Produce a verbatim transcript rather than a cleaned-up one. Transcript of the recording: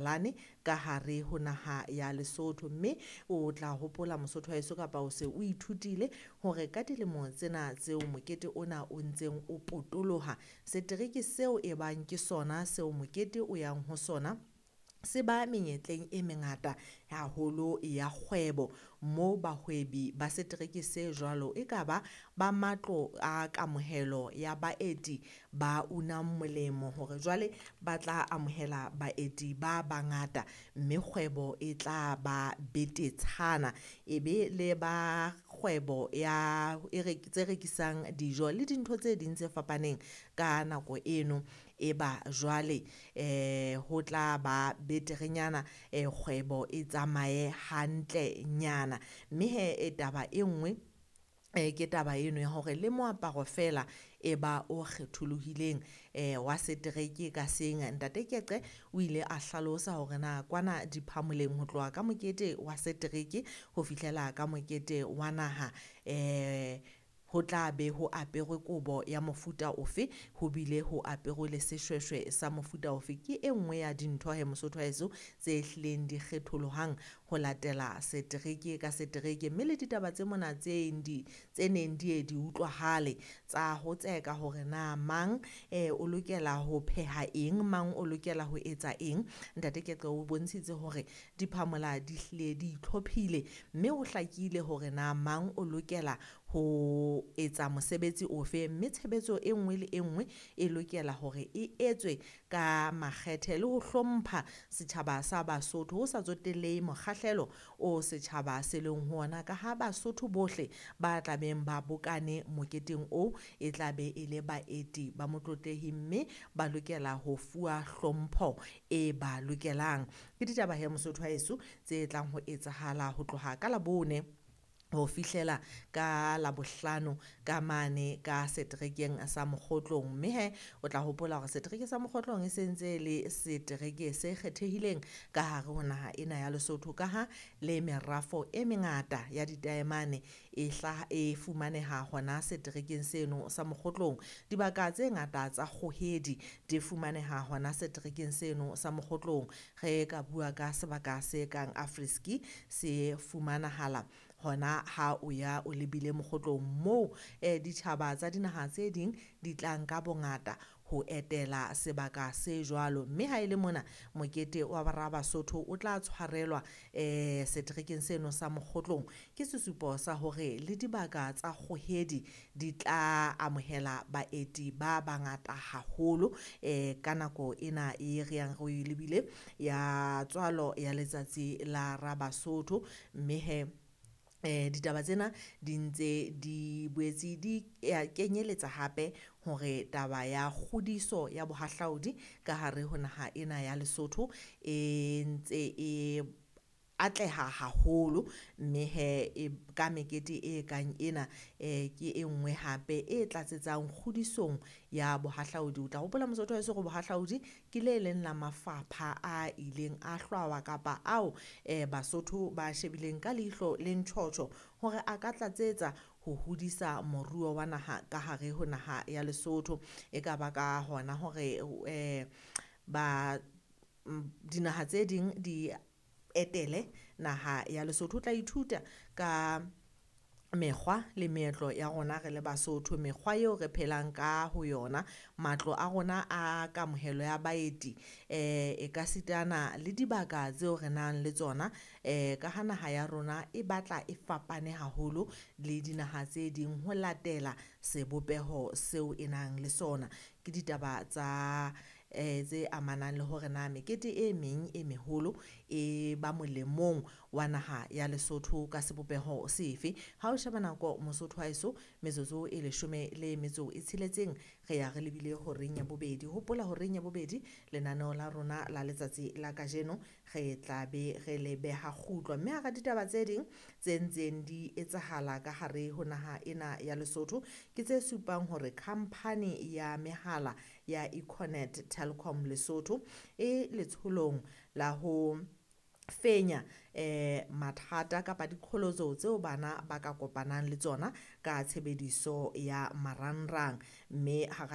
Lane ka hare ho naha ya Lesotho. Mme o tla hopola Mosotho wa heso kapa o se o ithutile hore ka dilemo tsena tseo mokete ona o ntseng o potoloha, setereke seo e bang ke sona seo mokete o yang ho sona se ba menyetleng e mengata haholo ya kgwebo. Moo bahwebi ba setereke se jwalo, e ka ba ba matlo a kamohelo ya baeti ba unang molemo hore jwale ba tla amohela baeti ba bangata, mme kgwebo e tla ba betetshana. E be le ba kgwebo ya e tse rekisang dijo le dintho tse ding tse fapaneng ka nako eno e ba jwale ho tla ba beterenyana kgwebo e tsamaye hantlenyana. Mme hee taba e nngwe ke taba eno ya hore le moaparo feela e ba o kgetholohileng wa setereke ka seng. Ntate Keqe o ile a hlalosa hore na kwana diphamoleng ho tloha ka mokete wa setereke ho fihlela ka mokete wa naha ho tla be ho aperwe kobo ya mofuta ofe, ho bile ho aperwe le seshweshwe sa mofuta ofe. Ke e nngwe ya dintho he Mosotho wa heso tse hlileng di kgetholohang ho latela setereke ka setereke. Mme le ditaba tse mona tse di tse neng di ye di utlwahale tsa ho tseka hore na mang o lokela ho pheha eng, mang o lokela ho etsa eng. Ntate Keqe o bontshitse hore diphamola di hlile di itlhophile, mme ho hlakile hore na mang o lokela ho etsa mosebetsi ofe. Mme tshebetso e nngwe le e nngwe e lokela hore e etswe ka makgethe le ho hlompha setjhaba sa Basotho. Ho sa tsotellehe mokgahlelo o setjhaba se leng ho ona, ka ha Basotho bohle ba tlabeng ba bokane moketeng oo e tla be e le baeti ba motlotlehi, mme ba lokela ho fuwa hlompho e ba lokelang. Ke ditaba hee Mosotho wa heso tse tlang ho etsahala ho tloha ka Labone ho fihlela ka Labohlano ka mane ka seterekeng sa Mokgotlong. Mme hee o tla hopola hore setereke sa Mokgotlong e sentse le setereke se kgethehileng ka hare ho naha ena ya Lesotho, ka ha le merafo e mengata ya ditaemane e hlaha e fumaneha hona seterekeng seno sa Mokgotlong. Dibaka tse ngata tsa kgohedi di fumaneha hona seterekeng seno sa Mokgotlong. Re ka bua ka sebaka se kang Afriski se fumanahala hona ha o ya o lebile Mokgotlong moo ditjhaba tsa dinaha tse ding di tlang ka bongata ho etela sebaka se jwalo. Mme ha e le mona mokete wa bara Basotho o tla tshwarelwa seterekeng seno sa Mokgotlong, ke sesupo sa hore le dibaka tsa kgohedi di tla amohela baeti ba bangata haholo ka nako ena e re yang re lebile ya tswalo ya letsatsi la Rabasotho. Mme hee ditaba tsena di ntse di boetse di kenyeletsa hape hore taba ya kgodiso ya bohahlaudi ka hare ho naha ena ya Lesotho e ntse e atleha haholo. Mme hee e ka mekete e kang ena ke e nngwe hape e tlatsetsang kgodisong ya bohahlaudi. O tla hopola Mosotho wa heso hore bohahlaudi ke le leng la mafapha a ileng a hlwawa kapa ao Basotho ba shebileng ka leihlo le ntjhotjho hore a ka tlatsetsa ho hodisa moruo wa naha ka hare ho naha ya Lesotho. E ka ba ka hona hore ba dinaha tse ding di etele naha ya Lesotho. O tla ithuta ka mekgwa le meetlo ya rona re le Basotho, mekgwa eo re phelang ka ho yona, matlo a rona a kamohelo ya baeti ekasitana le dibaka tseo re nang le tsona ka ha naha ya rona e batla e fapane haholo le dinaha tse ding ho latela sebopeho seo e nang le sona. Ke ditaba tsa tse amanang le hore na mekete e meng e meholo e ba molemong wa naha ya Lesotho ka sebopeho sefe. Ha o sheba nako Mosotho wa heso, metsotso e leshome le metso e tsheletseng re ya re lebile horeng ya bobedi. Hopola horeng ya bobedi lenaneo la rona la letsatsi la kajeno re tla be re le beha kgutlo. Mme hara ditaba tse ding tse ntseng di etsahala ka hare ho naha ena ya Lesotho, ke tse supang hore khampani ya mehala ya Econet Telkom Lesotho e letsholong la ho fenya mathata kapa diqholotso tseo bana ba ka kopanang le tsona ka tshebediso ya marangrang. Mme hara.